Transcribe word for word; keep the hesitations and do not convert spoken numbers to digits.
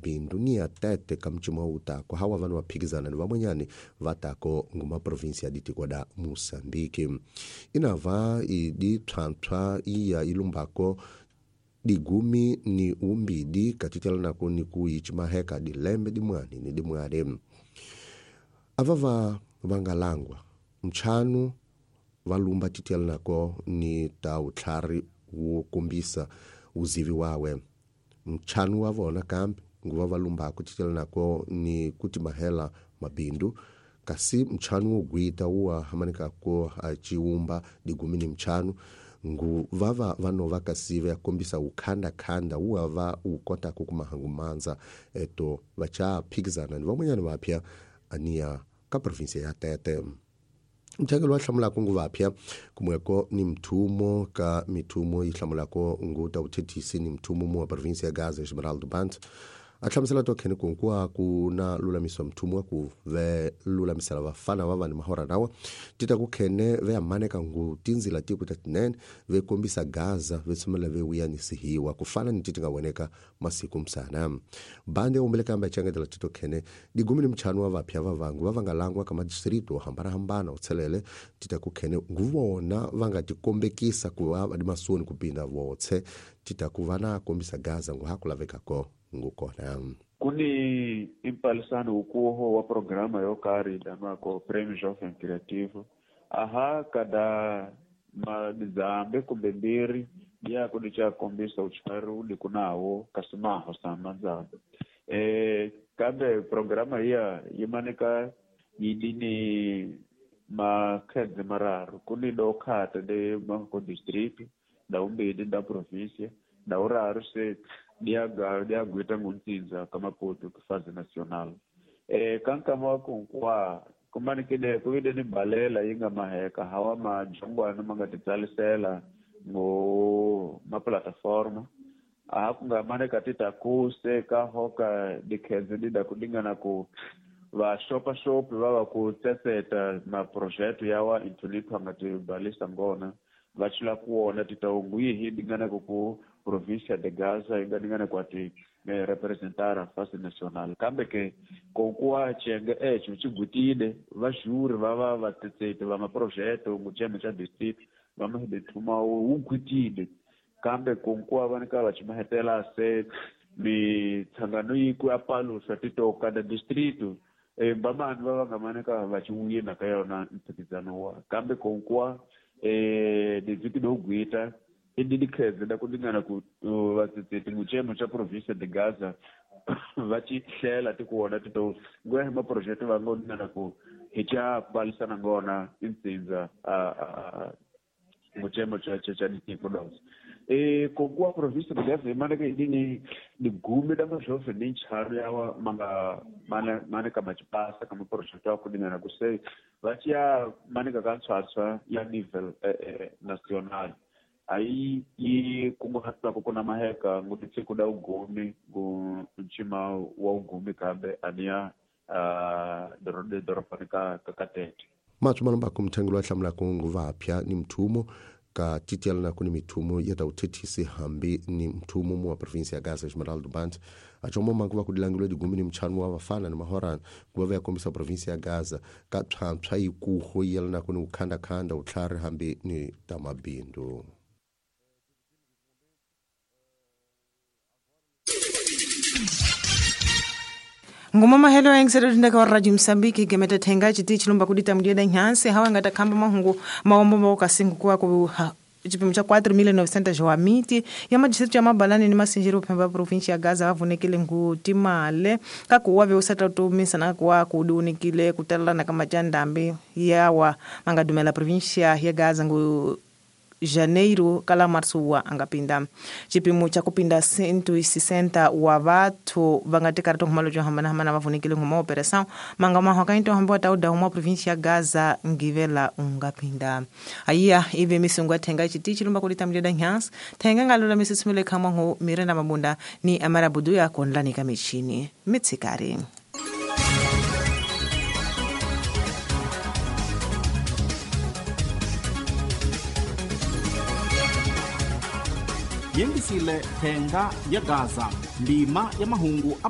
mabindu ni ya Tete ka mcima utako hawa vanu vaphikizana ni vamwenyani vatako nguma provinsia ditiko da Moçambique. Inava idi pswapswa iya ilumbako digumi ni umbidi katitelanako ni kuichimaheka dilembe dimwani ni dimwale. Avava vangalangwa mchanu valumba titelanako ni ta utlhari wo kombisa uzivi wawe. Mchanu wa vona kambe nguva valumbako titelanako ni kutimahela mabindu kasi mchanu wo gwita uwa hamanikako achiumba digumi ni mchanu ngu vava vanova kasive yakombisa ukhandakhanda uwava ukota kukumahangumanza eto vachaphikizana ni vamwenyani vapya aniya ka provinsia ya Tete. Mthengelo wa hlamulako ngu vapya kumweko ni mthumo ka mithumo yi hlamulako ngu ta uthethisi ni mthumo mu wa provinsia ya Gaza Esmeraldo Bant a hlamusela to khene kunkuwa ku na lulamiswa mthumo wa ku ve lulamisela vafana va vanhu mahora nawa tita ku khene ve amaneka ngu tindzila tiku ta tinene ve kombisa Gaza ve tsumela ve wiyanisihiwa ku fana ni titi nga voneka masiku msana. Bande umbele kambe changetela tito khene digumi ni mchanu wa vapya va vangu va va nga langwa ka madistrito yo hambanahambana utshelele tita ku khene nguvona va nga tikombekisa ku va va dimasoni ku pinda votse tita ku va na kombisa Gaza ngu ha ku lavekako ngukona. Kuni impalisano ukuho wa programa yo karhi danwako Prêmio Jovem Criativo aha kada madzambe kumbe mbirhi ya ku dicha kombisa uchari udi kunawo kasi maho sa madzambe eh kambe programa iya yi maneka yidini makhedze mararu kuni do khata de manko district da umbili da província da uraru se diaga diaguita ngunzinza kamaputo kufaze national eh kankama kunkwa kumanikide kuide ni balela yinga maheka hawa majongwana mangatitsalisela ngo ma plataforma a kunga maneka tita kuse ka hoka dikhedze dida kudingana ku va shopa shop va va ku tsetseta ma project yawa intulipha ngatibalisa ngona va chula kuona titaungu yihi dingana ku província de Gaza inganingana kwati eh, representar a face nacional kambe ke kokuwa chenge echo chigutile va juri va va va tsetsete va maprojeto ngucheme cha district va mahidethuma wu gutile kambe konkuwa va nika va chimahetela se mitsangano yi ku ya palusa titoka da distrito eh, vamani va va nga maneka va chiwina ka yona mphikizano wa kambe konkuwa eh diviki do gwita indidikhedze da kudingana ku vatsetseti nguchemo cha província de Gaza va ci hlela tikuona tito ngwehe maproject va ngo dingana ku hi cha balisana ngona insinza a nguchemo cha cha cha ditiko dos eh kokuwa província de Gaza imaneka idini digume da majove ni ncharo yawa manga mana maneka machipasa kama project ya kudingana ku se va chia maneka ka ntswatswa ya nível eh, eh, nacional aí yi kunguhatwa ku na maheka ngutitsi kuda ugumi ngu nchima wa ugumi kambe aniya uh, doropani ka ka Tete. Matsumalo ku mthengelo wa hlamulako ngu vapya ni mthumo ka titielana ku ni mithumo ya ta uthethisi hambi ni mthumo mu wa provinsia ya Gaza Esmeraldo Bant achomo mangu va ku dilangilwe digumi ni mchanu wa vafana ni mahorana ku va va ya kombisa provinsia ya Gaza ka pswapswa yikuho yelana ku ni ukhandakhanda utlhari hambi ni ta mabindu. Ngoma mahelo engisero ndaka wa Radio Msambiki gemeta thenga chiti chilumba kudita mdieda nyansi hawa ngata khamba mahungu maombo mawakasingu kuwa ku chipimo cha quatro mil novecentos wa miti ya madistrito ya Mabalani ni Masinjiro phemba província ya Gaza vavunekile ngu timale kakuwa veusata tumisa na kuwa kudunikile kutalana kama chandambi yawa mangadumela província ya Gaza ngu janeiro kala março wa angapinda chipimo cha kupinda cento e sessenta wa vathu vangatikari tonkhumalo jo hambanahambana vavunikile nguma operação manga mahwaka into hambi wa tauda uma província ya Gaza ngivela ungapinda ayiya ive misungu athenga chiti chilumba kulita mleda nyansi thenga ngalula misisumile khamwangu mirenda mabunda ni amarabudu ya konlanika michini mitsikari. Yengisile thenga ya Gaza ndima ya mahungu a